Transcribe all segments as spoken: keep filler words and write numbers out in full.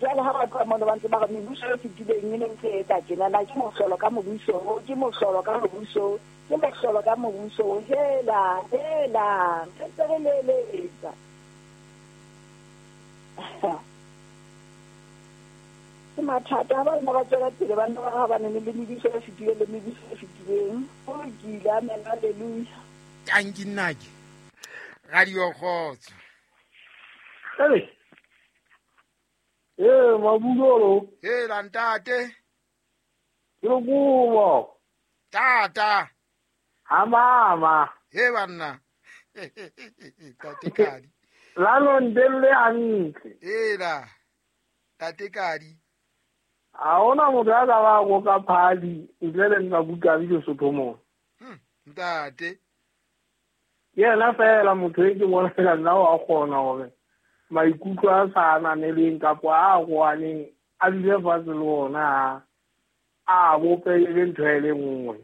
Jwale ha ba tloha mono ba ntse ba re mebuso e fetileng e ne ntse e etsa tjena, na ke mohlolo ka mobuso, ke mohlolo ka mobuso, ke mohlolo ka mobuso. Hela, hela, re ntse re leletsa. Ke mathata ha ba nna ba tswela pele ba nna ba ha ba ne le mebuso e fetileng le mebuso e fetileng. Ho lokile, amen, hallelujah. Tanki nnake. Radio Kgotso. Hey. Eh, Mabulolo. Hela ntate. Ke lokubo. Tata. Ha mama. He banna. Tate Kadi. La lo ndelle hantle. Hela. Tate Kadi. Ha ona motho a ka ba go ka phali ntle le nna buka le Sotho mo. Hm, ntate. Yena fela motho e ke bona fela nna wa kgona hore maikutlo a sa ananeleng kapa a goaneng a dule fatshe le ona a bope le ntho e le nngwe.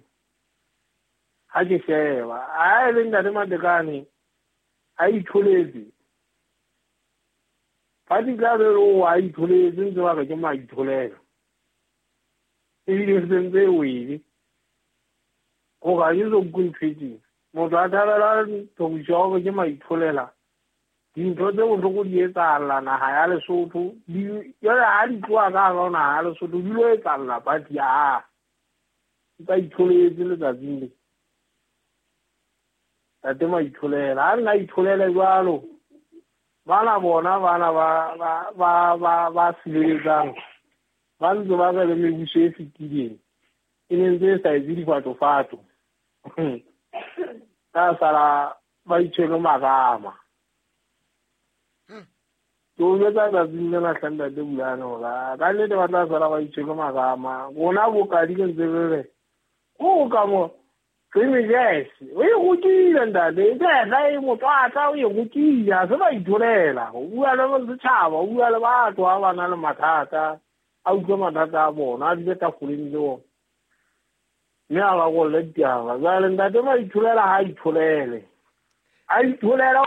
Ha ke sheba a e le ntate Matekane a itholetse ba di tla be o a itholetse ntse ba re ke maitholela ebile se ntse e wele go ga ke so kuntshwetseng motho a thabela thoriso ya hore ke maitholela. Dintho tse bohloko di etsahala naha ya Lesotho, jwale ha di tloha ka hara ho naha ya Lesotho di lo etsahalla party ya ba itholetse letsatsing le. Tate maitholela ha nna itholele jwalo bana bona bana ba ba ba ba ba sileletsang ba ntse ba re le mebuso e fetileng e ne ntse e sa etse difatofato ka sala ba itshwere marama. Ke o jwetsa tsatsing lena hle ntate Bulane hore ka nnete ba tla sala ba itshwere marama. Rona bokadi ke ntse re re o ka mo Jazz o e rutile ntate, e e motswatla o e rutile, ha se ba itholela. O bua le setjhaba, o bua le batho ha ba na le mathata, a utlwe mathata a bona, a dule tafoleng le bona. Mme a ba kolle ditaba. Jwale ntate maitholela ha a itholele. A itholela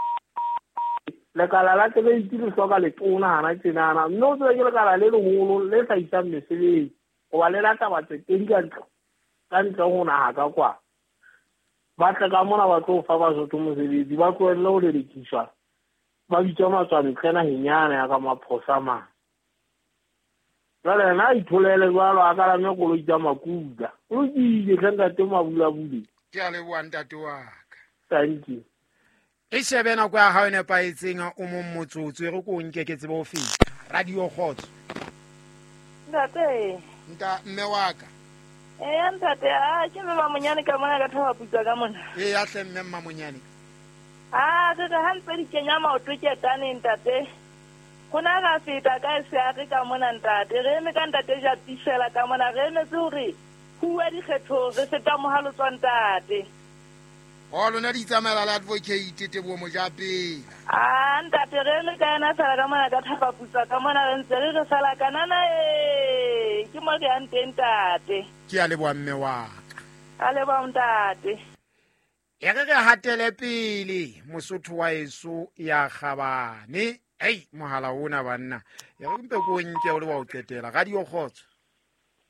lekala la tleiti le hloka letona hana tjenana. Mme o tsebe ke lekala le leholo le hlahisang mesebetsi hoba le lata batsetedi ka ntle ka ntle ho naha ka kwa. Ba tle ka mona ba tlo fa Basotho mosebetsi, ba tlohelle ho lelekiswa, ba bitswa matswantle naheng yane ya ka maphosa mane. Jwale yena a itholele jwalo a kalame koloi tsa makuka. O lokile hle ntate Mabulabule. Ke a leboha ntate wa ka. Thank you. E shebe nako ya hao e nepahetseng o mong motsotso e re ko nke ke tsebe ho feta. Radio Kgotso. Ntate. Nta mme wa ka. Eh ntate, a ke mme Mamonyane ka mona ka thaba putsa ka mona. Eh ya hle mme Mamonyane. Ah, re ha ntse di kenya maoto ke tane ntate. Hona ra feta ka se a re ka mona ntate. Re eme ka ntate ja tisela ka mona re emetse hore huwa dikgetho re feta mohalo tswa ntate. O lona di tsamaela la advocate Teboho Mojapela. Ah ntate re eme ka yena fela ka mona ka thaba putsa ka mona re ntse re re sala kanana e ke mo re yang teng ntate. Ke a leboha mme wa ka. A leboha ntate. E re re hatele pele Mosotho wa eso ya kgabane. Ei mohala ona banna. E re mpe ko nke o le wa o qetela. Radio Kgotso.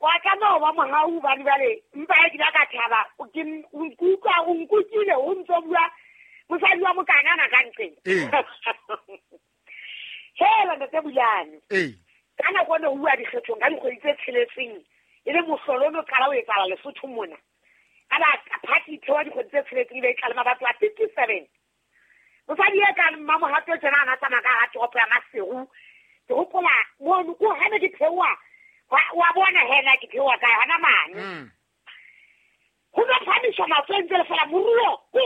Wa ka no ba mohau ba dibale mpa e ke ka thaba ke nkutlwa o nkutlwile o ntso bua mosadi wa mokanana ka ntleng. Eh. Hela ntate Bulane. Eh. Ka nako ne o bua dikgethong ka dikgwedi tse tsheletseng e le mohlolo no qala o etsahala Lesotho mona. Ka ba party thewa dikgwedi tse tsheletseng e tlala mabato a fifty-seven. Mosadi e ka mmamohato tjena ana tsamaya ka hara toropo ya Maseru. Ke hopola mono ko ha ne ke theoha wa bona hena ke theoha kae hana mane. Ho no phamiswa matsoho ntse le fela moruo ko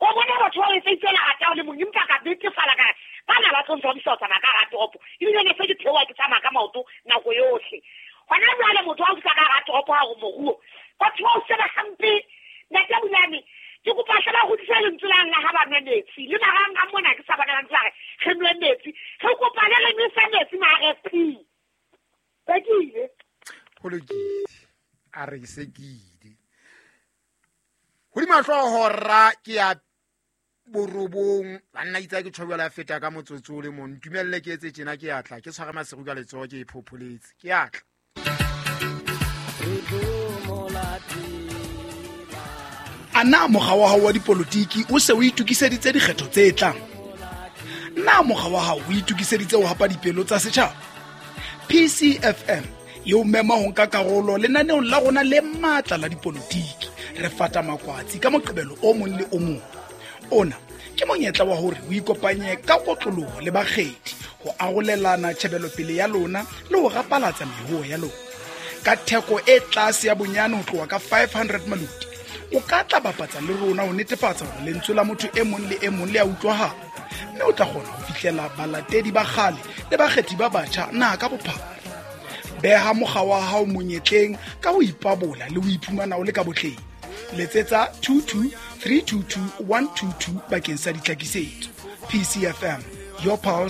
o bona batho ba etsa lerata o le mong empa ka betefala ka bana ba tlo ntshwabisa ho tsamaya ka hara toropo ebile ne se ke theoha ke tsamaya ka maoto nako yohle. Hona jwale motho ha o fihla ka hara toropo ha re moruo batho ba o sheba hampe. Ntate Bulane ke kopa hle ba hodise lentswe la la ha ba nwe metsi le marang a mona ke sa bona ba ntse ba re re nwe metsi re kopa le re nwesa metsi ma R F P. Sekile. Ho lokile. A re sekile. Hodima hlooho ra ke ya Borobong banna itse ke tjho jwale a feta ka motsotso o le mong. Ntumelle ke etse tjena, ke atla ke tshware maseru ka letsoho ke e phopholetse. Ke atla. A na mokga wa hao wa dipolotiki o se o itokiseditse dikgetho tse tlang? Na mokga wa hao o itokiseditse ho hapa dipelo tsa setjhaba? P C F M e o mema ho nka karolo lenaneong la rona le matla la dipolotiki. Re fata makwatsi ka Moqebelo o mong le o mong. Ona ke monyetla wa hore o ikopanye ka kotloloho le bakgethi ho arolelana tjhebelopele ya lona le ho rapalatsa mehoo ya lona. Ka theko e tlase ya bonyane ho tloha ka five hundred maloti, o ka tla bapatsa le rona ho netefatsa hore lentswe la motho e mong le e mong le a utlwahala, mme o tla kgona ho fihlela balatedi ba kgale le bakgethi ba batjha naha ka bophara. Beha mokga wa hao monyetleng ka ho ipabola le ho iphumana o le ka botleng. Letsetsa two two three two two one two two bakeng sa ditlhakisetso. P C F M, your pulse.